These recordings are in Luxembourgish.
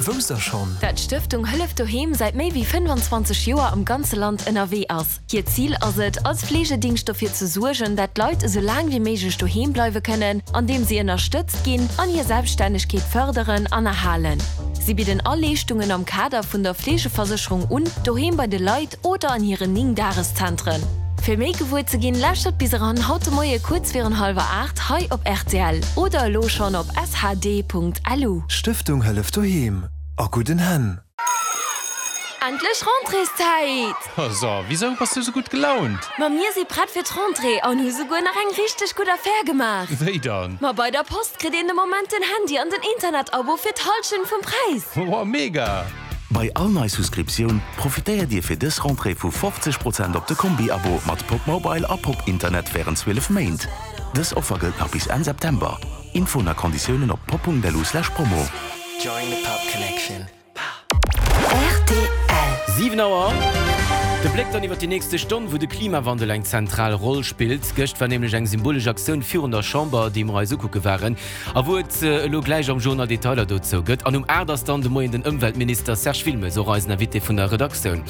Wousst der schonn? Dat d'Stëftung Hëllef Doheem säit méi wéi 25 Joer am ganze Land ënnerwee ass. Hiert Zil ass et, als Fleegedingscht dofir ze suergen, dat d'Leit esou laang wéi méiglech doheem bleiwe kënnen, andeem si ënnerstëtzt ginn an hir Selbststännegkeet fërderen an erhalen. Si bidden all Leeschtungen am Kader vun der Fleegeversécherung un, doheem bei de Leit oder an hiren 9 Dageszentren. Fir méi gewuer ze ginn, lauschtert bis eran haut de Moie kuerz virun hallwer 8 hei op rtl oder elo schonn op shd.lu. Stëftung Hëllef Doheem, a gudden Hänn! Endlech Rentréeszäit! So, wisou bass du sou gutt gelaunt? Ma mir si prett fir d'Rentrée an hu souguer nach eng richteg gutt Affär gemaach! Wéi dann? Ma bei der Post kritt een de Moment den Handy an den Internet-Abo fir d'Hallschent vum Präis! Woah, mega! Bei all nei Souscriptioun profitéiert Dir fir dës Rentrée vu 50 Prozent op de Kombi-Abo mat Popmobile a Popinternet wärend 12 Méint. Dës Offer gëllt nach bis Enn September. Infoen a Konditiounen op pop.lu/promo. Rtl. 7 Auer. De Bléck dann iwwer déi nächste Stonn, wou de Klimawandel eng zentral Roll spillt. Gëscht war nämlech eng symbolesch Aktioun virun der Chamber, déi mer eis ukucke waren. A wou et elo gläich am Journal Detailer dozou gëtt. An um 8 ass dann de Moien den Ëmweltminister Serge Wilmes och eisen Invité vun der Redaktioun.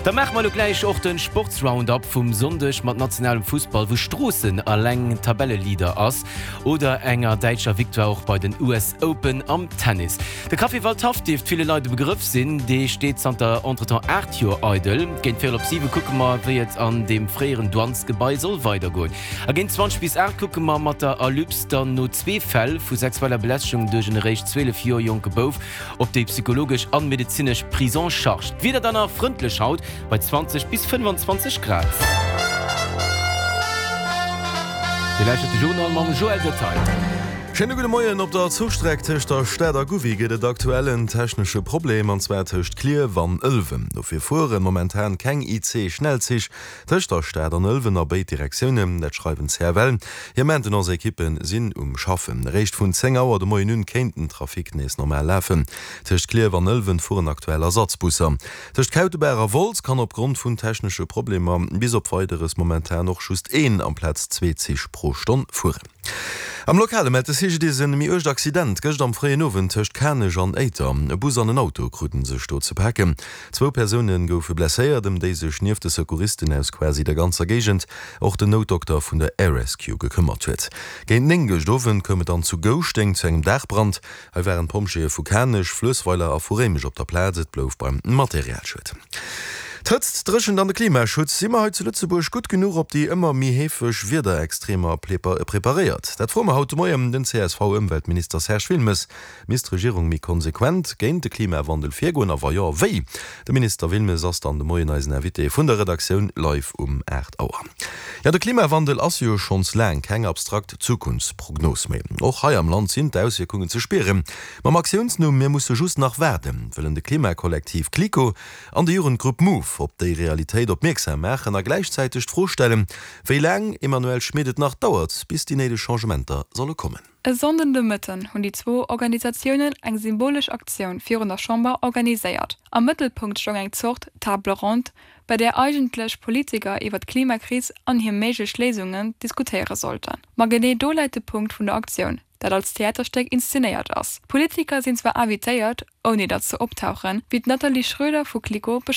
Da maache mer elo gläich och de Sportsroundup vum Sonndeg mat nationalem Fussball, wou Stroossen eleng Tabelleleader ass, oder enger däitscher Victoire och bei den US Open am Tennis. De Café Waldhaff dierft ville Leit e Begrëff sinn, dee steet zanter entretemps 8 Joer eidel. Géint véierel op 7 kucke mer, wéi et an deem fréieren Douanesgebai soll weidergoen. A géint 20 bis 8 kucke mer mat der Alypes dann no zwee Fäll vu sexueller Belästegung duerch en eréischt 12 Joer jonke Bouf op déi psychologesch an medezinesch Prise en charge. D'Wieder dann nach frëndlech haut bei 20 bis 25 Grad. Dir lauschtert de Journal mam Joël Detaille. Schéine gudde Moien. Op der Zuchstreck tëscht der Stad a Gouvy gëtt et aktuell en technesche Problem, an zwar tëscht Klierf an Ëlwen. Dofir fuere momentan keng IC-Schnellzich Tëscht der Stad an Ëlwen a béid Direktiounen, dat schreiwen d'CFL. Hir Maintenance-Ekippe sinn um Schaffen. Eréischt vun 10 Auer de Moien un kéint den Trafic nees normal lafen. Tëscht Klierf an Ëlwen fueren aktuell Ersatzbusser. Tëscht Kautebaach a Wolz kann opgrond vun technesche Problemer bis op Weideres momentan och just een amplaz zwee Zich pro Stonn fueren. Am Lokale mellt de CGDIS en méi uergt Accident gëscht am fréien Owend tëscht Kanech an Éiter. E Bus an en Auto kruten sech do ze paken. Zwou Persoune goufe blesséiert, ëm déi sech nieft de Secouristen aus quasi der ganzer Géigend och den Noutdokter vun der Air Rescue gekëmmert huet. Géint 9 gëscht Owend koum et dann zu Gouschteng zu engem Daachbrand. Hei waren d'Pompjeeë vu Kanech, Fluessweiler a vu Réimech op der Plaz. Et blouf beim Materialschued. D'Hëtzt, d'Dréchent an de Klimaschutz, Si mer hei zu Lëtzebuerg gutt genuch op déi ëmmer méi heefeg Wiederextremer preparéiert? Dat froe mer haut de Moien den CSV-Ëmweltminister Serge Wilmes. Misst d'Regierung méi konsequent géint de Klimawandel virgoen a wa jo, wéi? De Minister Wilmes ass dann de Moien eisen Invité vun der Redaktioun live um 8 Auer. Jo, de Klimawandel ass jo schonns laang keng abstrakt Zukunftsprognos méi. Och hei am Land sinn d'Auswierkungen ze spieren. Mam Aktiounsnumm Mir musse just nach waarden wëllen de Klimakollektiv Kliko an de Jugendgrupp Move op déi Realitéit opmierksam maachen a gläichzäiteg d'Fro stellen, wéi laang, Emmanuelle Schmit, et nach dauert, bis déi néideg Changementer solle kommen. E Sonnden de Mëtten hunn déi zwou Organisatiounen eng symbolesch Aktioun virun der Chamber organiséiert. Am Mëttelpunkt stoung eng Zort Table ronde, bei där eigentlech Politiker iwwer d'Klimakris an hir méiglech Léisungen diskutéiere sollten. Ma genee do läit de Punkt vun der Aktioun, dat als Theaterstéck inszenéiert ass. D'Politiker sinn zwar invitéiert, ouni datt se optauchen, wéi d'Nathalie Schroeder vu Kliko beschreift.